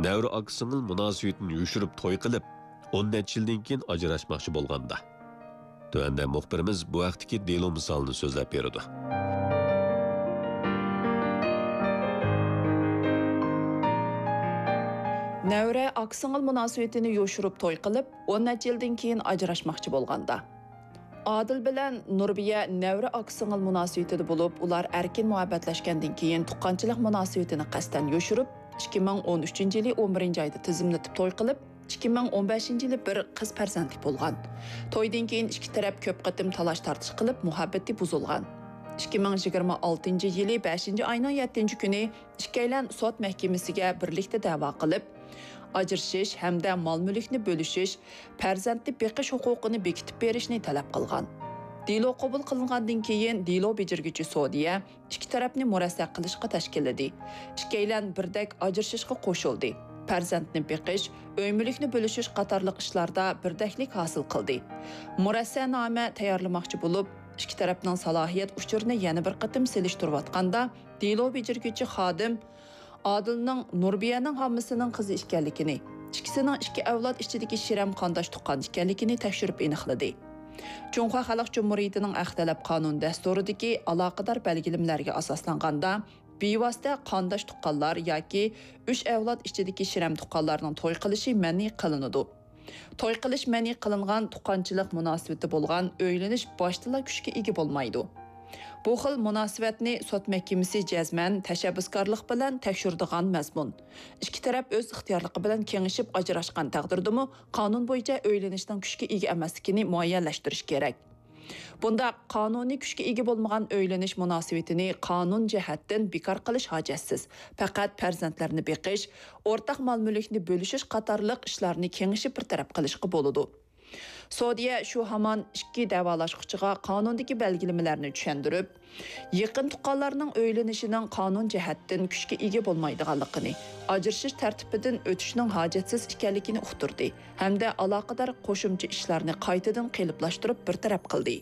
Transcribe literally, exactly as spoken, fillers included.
نەۋرە ئاكا-سىڭىل مۇناسىۋىتىنى يوشۇرۇپ توي قىلىپ، ئون نەچچە يىلدىن كېيىن ئاجراشماقچى بولغاندا. تۆۋەندە مۇخبىرىمىز بۇ ھەقتىكى دېلو مىسالىنى سۆزلەپ بېرىدۇ. نەۋرە ئاكا-سىڭىل مۇناسىۋىتىنى يوشۇرۇپ توي قىلىپ، ئون نەچچە يىلدىن كېيىن ئاجراشماقچى بولغاندا. ئادىل بىلەن نۇربىيە نەۋرە ئاكا-سىڭىل مۇناسىۋىتىدە بولۇپ، ئۇلار ئەركىن مۇھەببەتلەشكەندىن كېيىن تۇغقانچىلىق مۇناسىۋىتىنى قەستەن يوشۇرۇپ، ئىككى مىڭ ئون ئۈچىنچى يىلى ئون بىرىنچى ئايدا تىزىملىتىپ توي قىلىپ، ئىككى مىڭ ئون بەشىنچى يىلى بىر قىز پەرزەنتلىك بولغان. تويدىن كېيىن ئىككى تەرەپ كۆپ قېتىم تالاش-تارتىش قىلىپ، مۇھەببىتى بۇزۇلغان. ئىككى مىڭ يىگىرمە ئالتىنچى يىلى بەشىنچى ئاينىڭ يەتتىنچى كۈنى ئىككىيلەن سوت مەھكىمىسىگە بىرلىكتە دەۋا قىلىپ، ئاجرىشىش ھەمدە مال-مۈلۈكنى بۆلۈشۈش، پەرزەنتنى بېقىش ھوقۇقىنى بېكىتىپ بېرىشنى تەلەپ قىلغان. دېلو قوبۇل قىلىنغاندىن كېيىن، دېلو بېجىرگۈچى سودىيە ئىككى تەرەپنى مۇرەسسە قىلىشقا تەشكىللىدى. ئىككىيلەن بىردەك ئاجرىشىشقا قوشۇلدى. پەرزەنتنى بېقىش، ئۆي-مۈلۈكنى بۆلۈشۈش قاتارلىق ئىشلاردا بىردەكلىك ھاسىل قىلدى. مۇرەسسەنامە تەييارلىماقچى بولۇپ، ئىككى تەرەپنىڭ سالاھىيەت ئۇچۇرىنى يەنە بىر قېتىم سېلىشتۇرۇۋاتقاندا، دېلو بېجىرگۈچى خادىم ئادىلنىڭ نۇربىيەنىڭ ھاممىسىنىڭ قىزى ئىكەنلىكىنى، ئىككىسىنىڭ ئىككى ئەۋلاد ئىچىدىكى شىرەم قانداش تۇغقان ئىكەنلىكىنى تەكشۈرۈپ ئېنىقلىدى. جۇڭخۇا خەلق جۇمھۇرىيىتىنىڭ ئەخلەت تەلەپ قانۇن دەستۇرىدىكى ئالاقىدار بەلگىلىمىلەرگە ئاساسلانغاندا، بىۋاسىتە قانداش تۇغقانلار ياكى ئۈچ ئەۋلاد ئىچىدىكى شىرەم تۇغقانلارنىڭ توي قىلىشى مەنئى قىلىنىدۇ. توي قىلىش مەنئى قىلىنغان تۇغقانچىلىق مۇناسىۋىتى بولغان ئۆيلىنىش باشتىلا كۈچكە ئىگە بولمايدۇ. بۇ خىل مۇناسىۋەتنى سوت مەھكىمىسى جەزمەن تەشەببۇسكارلىق بىلەن تەكشۈرىدىغان مەزمۇن. ئىككى تەرەپ ئۆز ئىختىيارلىقى بىلەن كېڭىشىپ ئاجراشقان تەقدىردىمۇ، قانۇن بويىچە ئۆيلىنىشنىڭ كۈچكە ئىگە ئەمەسلىكىنى مۇئەييەنلەشتۈرۈش كېرەك. بۇنداق قانۇنىي كۈچكە ئىگە بولمىغان ئۆيلىنىش مۇناسىۋىتىنى قانۇن جەھەتتىن بىكار قىلىش ھاجەتسىز. پەقەت پەرزەنتلەرنى بېقىش، ئورتاق مال-مۈلۈكنى بۆلۈشۈش قاتارلىق ئىشلارنى كېڭىشىپ بىر تەرەپ قىلىشقا بولىدۇ. سودىيە شۇ ھامان ئىككى دەۋالاشقۇچىغا قانۇندىكى بەلگىلىمىلەرنى چۈشەندۈرۈپ، يېقىن تۇغقانلارنىڭ ئۆيلىنىشىنىڭ قانۇن جەھەتتىن كۈچكە ئىگە بولمايدىغانلىقىنى، ئاجرىشىش تەرتىپىدىن ئۆتۈشنىڭ ھاجەتسىز ئىكەنلىكىنى ئۇقتۇردى ھەمدە ئالاقىدار قوشۇمچە ئىشلارنى قايتىدىن قېلىپلاشتۇرۇپ بىر تەرەپ قىلدى.